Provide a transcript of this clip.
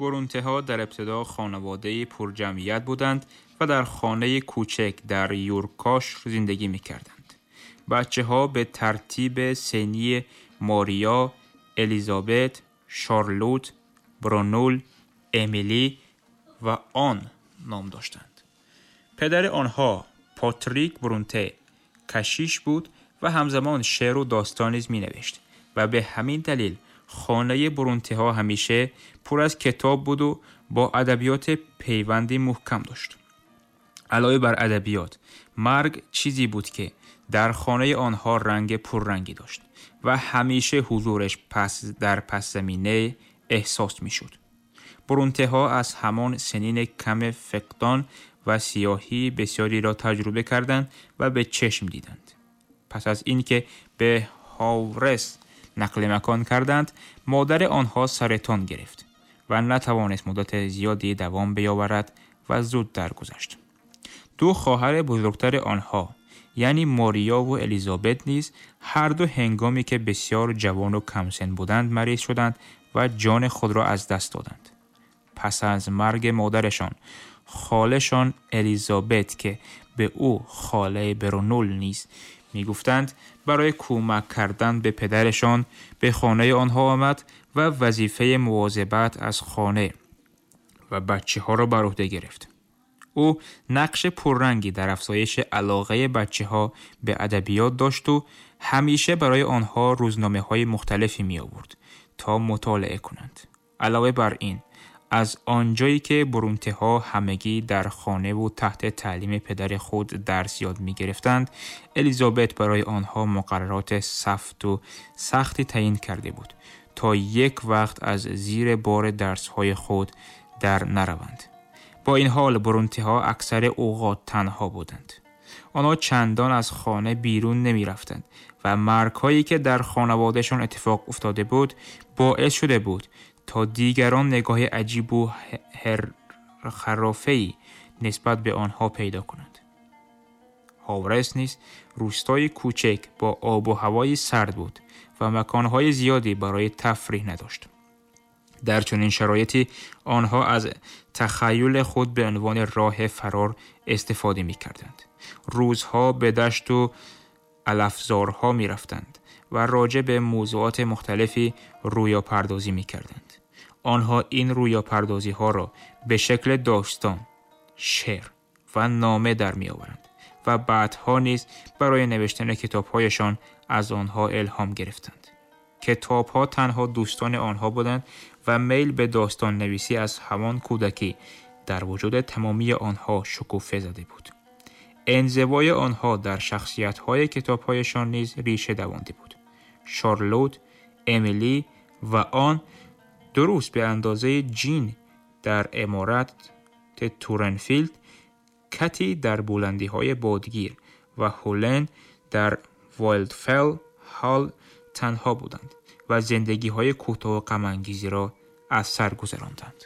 برونته در ابتدا خانواده پرجمعیت بودند و در خانه کوچک در یورکاش زندگی می کردند. بچه ها به ترتیب سنی ماریا، الیزابت، شارلوت، برونول، امیلی و آن نام داشتند. پدر آنها پاتریک برونته کشیش بود و همزمان شعر و داستان نیز می نوشت و به همین دلیل خانه برونته ها همیشه پر از کتاب بود و با ادبیات پیوندی محکم داشت. علاوه بر ادبیات، مرگ چیزی بود که در خانه آنها رنگ پررنگی داشت و همیشه حضورش در پس زمینه احساس می شد. برونته ها از همان سنین کم فقدان و سیاهی بسیاری را تجربه کردند و به چشم دیدند. پس از اینکه به هاورس نقل مکان کردند، مادر آنها سرطان گرفت و نتوانست مدت زیادی دوام بیاورد و زود درگذشت. دو خواهر بزرگتر آنها یعنی ماریا و الیزابت نیز هر دو هنگامی که بسیار جوان و کمسن بودند مریض شدند و جان خود را از دست دادند. پس از مرگ مادرشان، خاله‌شان الیزابت که به او خاله برونول نیز میگفتند، برای کمک کردن به پدرشان به خانه آنها آمد و وظیفه مواظبت از خانه و بچه ها را بر عهده گرفت. او نقش پررنگی در افزایش علاقه بچه ها به ادبیات داشت و همیشه برای آنها روزنامه های مختلفی می آورد تا مطالعه کنند. علاوه بر این، از آنجایی که برونته ها همگی در خانه و تحت تعلیم پدر خود درس یاد می گرفتند، الیزابت برای آنها مقررات سفت و سختی تعیین کرده بود تا یک وقت از زیر بار درس های خود در نروند. با این حال برونته ها اکثر اوقات تنها بودند. آنها چندان از خانه بیرون نمی رفتند و مرگ هایی که در خانوادهشان اتفاق افتاده بود باعث شده بود تا دیگران نگاه عجیب و خرافه‌ای نسبت به آنها پیدا کنند. هاورس نیز روستای کوچک با آب و هوای سرد بود و مکانهای زیادی برای تفریح نداشت. در چنین شرایطی آنها از تخیل خود به عنوان راه فرار استفاده می کردند. روزها به دشت و علفزارها می رفتند و راجع به موضوعات مختلفی رویا پردازی می کردند. آنها این رویا پردازی ها را به شکل داستان، شعر و نامه در می آورند و بعدها نیز برای نوشتن کتابهایشان از آنها الهام گرفتند. کتابها تنها دوستان آنها بودند و میل به داستان نویسی از همان کودکی در وجود تمامی آنها شکوفه زده بود. انزوای آنها در شخصیت‌های کتاب‌هایشان نیز ریشه دوانده بود. شارلوت، امیلی و آن درست به اندازه جین در عمارت تورنفیلد، کتی در بلندی‌های بادگیر و هولن در وایلدفل هال تنها بودند و زندگی‌های کوتاه و غم‌انگیزی را از سر گذراندند.